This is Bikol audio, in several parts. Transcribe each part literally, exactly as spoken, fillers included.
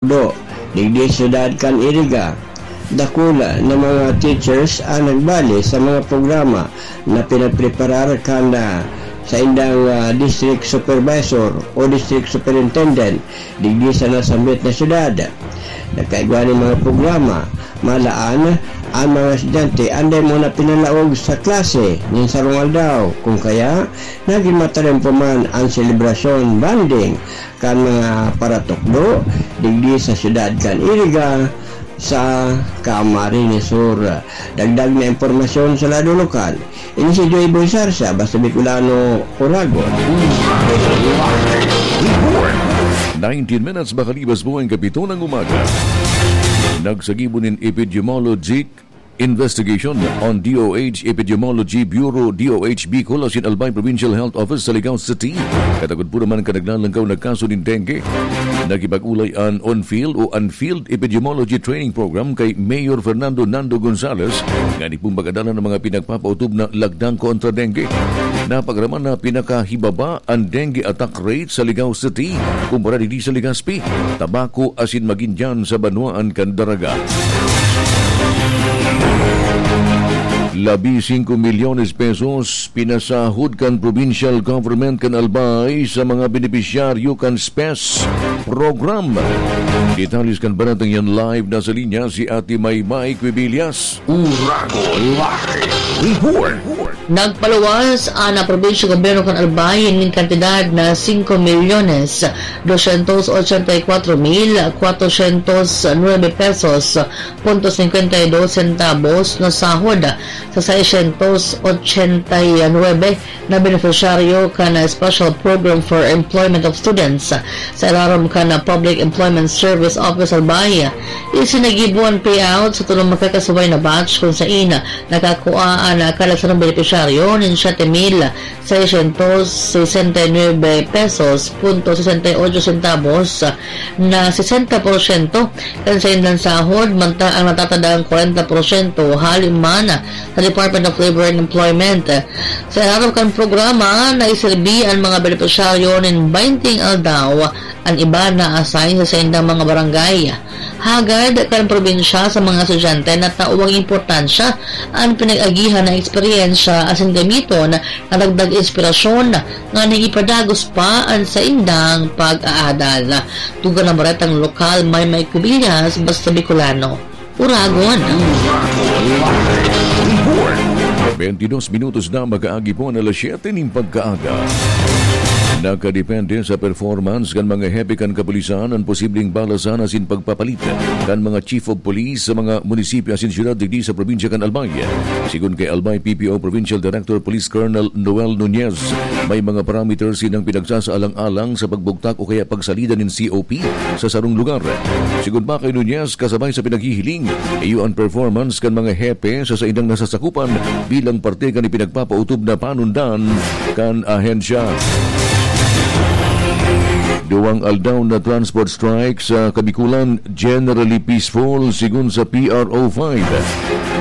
Do, digdi sa syudad kan Iriga. Dakula na mga teachers ang nagbali sa mga programa na pinagpreparar kan, ah, saindang, ah, district supervisor o district superintendent digdi sa nasambit na syudad. Nagkaigwa nin mga programa, malaan, ang mga estudyante anday muna pinalaog sa klase nin sarong aldaw, kung kaya, nagin matarimpo man ang selebrasyon, bonding, kan mga paratukdo digdi sa syudad kan Iriga sa Camarines Sur. Dagdag na impormasyon sa lado lokal, ini si Joy Boy Sarsa, Basta Bicolano, Oragon. Nineteen minutes makalibas po ang kapito ng umaga. Nagsagibo nin epidemiologic investigation on D O H Epidemiology Bureau, D O H Bicol, asin Albay Provincial Health Office sa Ligao City. Katagod po naman kan naglalangkaw na kaso nin dengue. Nakipag-ulay an on-field o unfield epidemiology training program kay Mayor Fernando Nando Gonzales, ngani pong pagkadala ng mga pinagpapautob na lagdang kontra dengue. Napagaraman na pinakahibaba an dengue attack rate sa Ligao City kumpara digdi sa Legazpi, Tabaco asin magin diyan sa banwaan kan Daraga. Labi singko milyones pesos pinasahod kan provincial government kan Albay sa mga benepisyaryo kan SPES program. Detalles kan baratang yan live na sa linya si Ate Maymay Quibillas. Uragon Live Report. Nagpaluwas an probinsya gobyerno kan Albay nin kantidad na singko milyones dosyentos ochenta y cuatro mil kwatrosyentos nuebe pesos punto singkwenta y dos sentavos na sahod sa seiscientos ochenta y nuebe na benepisyaryo kan Special Program for Employment of Students sa ilarom kan Public Employment Service Office Albay. Isinagibo an payout sa tulong makakasabay na batch kun sain nakakua an kada sarong benepisyaryo nin siyete mil seiscientos sesenta y nuebe pesos punto sesenta y ocho centavos na sesenta porsyento kan saindang sahod, mantang ang natatadaang kwarenta porsyento hali man sa Department of Labor and Employment. Sa ilarom kan programa, naiserbi an mga benepisyaryo nin baynte aldaw, an iba na-assign sa saindang mga barangay. Hagad kan probinsya sa mga estudyante na taong importansya an pinag-agihan na eksperyensya asin gamiton na dagdag inspirasyon nganing ipadagos pa an saindang pag-aadal. Tugang na baretang lokal, Maymay Cubillas, Basta Bicolano, Uragon. Bentidos minutos na makaagi po an alas siyete nin pagkaaga. Nakadepende sa performance kan mga hepe kan kapulisan an posibleng balasan asin pagpapalit kan mga chief of police sa mga munisipyo asin syudad digdi sa probinsya kan Albay. Sigon kay Albay P P O Provincial Director Police Colonel Noel Nunez, may mga parameters sinang pinagsasaalang-alang sa pagbugtak o kaya pagsalida nin C O P sa sarong lugar. Sigon pa kay Nunez, kasabay sa pinaghihiling, iyo an performance kan mga hepe sa saindang nasasakupan bilang parte kan ipinagpapautob na panundan kan ahensya. Duwang aldaw na transport strike sa Kabikulan, generally peaceful, sigon sa P R O five.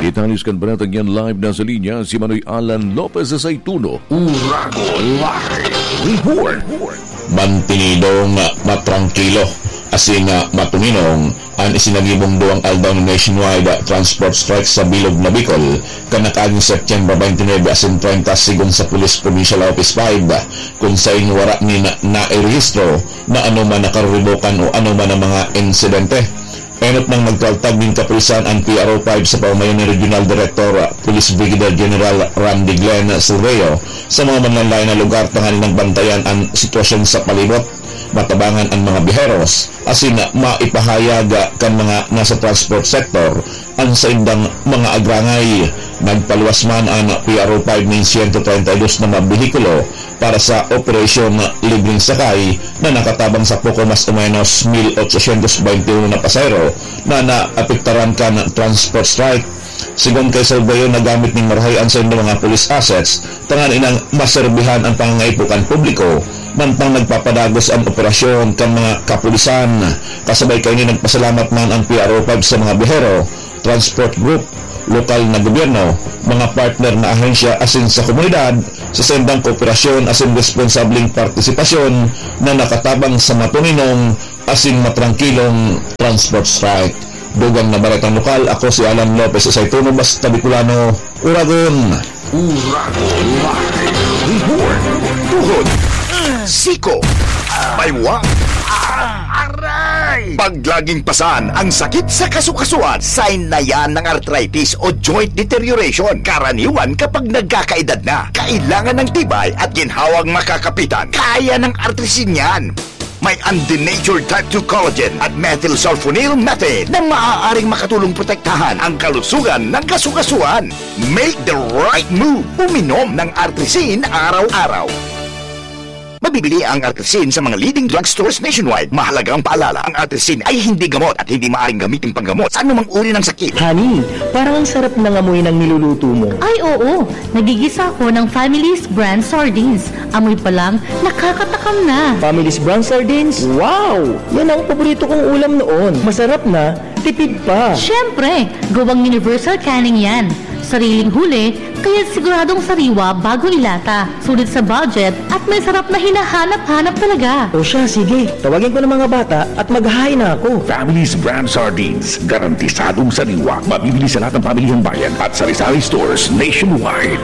Detalles kan baratang yan live na sa linya si Manoy Alan Lopez sa Saituno. Uragon Live Report. Mantinidong matrangkilo asin matuminong an isinagibong duwang aldaw na nationwide transport strike sa bilog na Bicol kan nakaaging September twenty-nine asin treinta, sigon sa Police Provincial Office five, kun sain wara nin nairehistro na anoman na karuribokan o anoman na mga insidente. Enot nang nagtaltag nin kapulisan an P R O five sa pamamayo ni Regional Director Police Brigadier General Randy Glenn Silveo sa mga manlaen-laen na lugar tanganing bantayan an sitwasyon sa palibot, matabangan an mga biyaheros, asin maipahayag kan mga nasa transport sector an saindang mga agrangay. Nagpaluwas man an P R O five nin siyento treinta y dos na mga behikulo para sa Operasyon Libreng Sakay na nakatabang sa poko mas o menos mil ochocientos baynte uno na pasahero na naapektaran kan transport strike. Sigon kay Salvayo, nagamit nin marahay an saindang mga police assets tanganing maserbihan an pangangaipo kan publiko, mantang nagpapadagos an operasyon kan mga kapulisan. Kasabay kaini, nagpasalamat man an P R O five sa mga biyahero, transport group, lokal na gobyerno, mga partner na ahensya asin sa komunidad, sa sendang kooperasyon asin responsableng partisipasyon na nakatabang sa matuninong asin matrangkilong transport strike. Dugang na baretang lokal, ako si Alan Lopez Isaytuno, basta Bicolano, Uragon. Uragon Live Report. Tuhod. Siko. Baywa. Aray! Pag laging pasan ang sakit sa kasukasuan, sign na yan ng arthritis o joint deterioration. Karaniwan kapag nagkakaedad na, kailangan ng tibay at ginhawang makakapitan. Kaya ng Artrisin yan. May undenatured type two collagen at methylsulfonyl methane na maaaring makatulong protektahan ang kalusugan ng kasukasuan. Make the right move. Uminom ng Artrisin araw-araw. Mabibili ang Artrisin sa mga leading drugstores nationwide. Mahalagang paalala, ang Artrisin ay hindi gamot at hindi maaaring gamitin panggamot sa anumang uri ng sakit. Honey, parang ang sarap ng amoy ng niluluto mo. Ay, oo. Nagigisa ako ng Family's Brand Sardines. Amoy pa lang, nakakatakam na. Family's Brand Sardines? Wow! Yan ang paborito kong ulam noon. Masarap na, tipid pa. Siyempre, gawang universal canning yan. Sariling huli, kaya siguradong sariwa bago ilata. Sulit sa budget at may sarap na hinahanap-hanap talaga. O siya, sige. Tawagin ko ng mga bata at maghahain na ako. Family's Brand Sardines. Garantisadong sariwa. Mabibili sa lahat ng pamilihan bayan at sari-sari stores nationwide.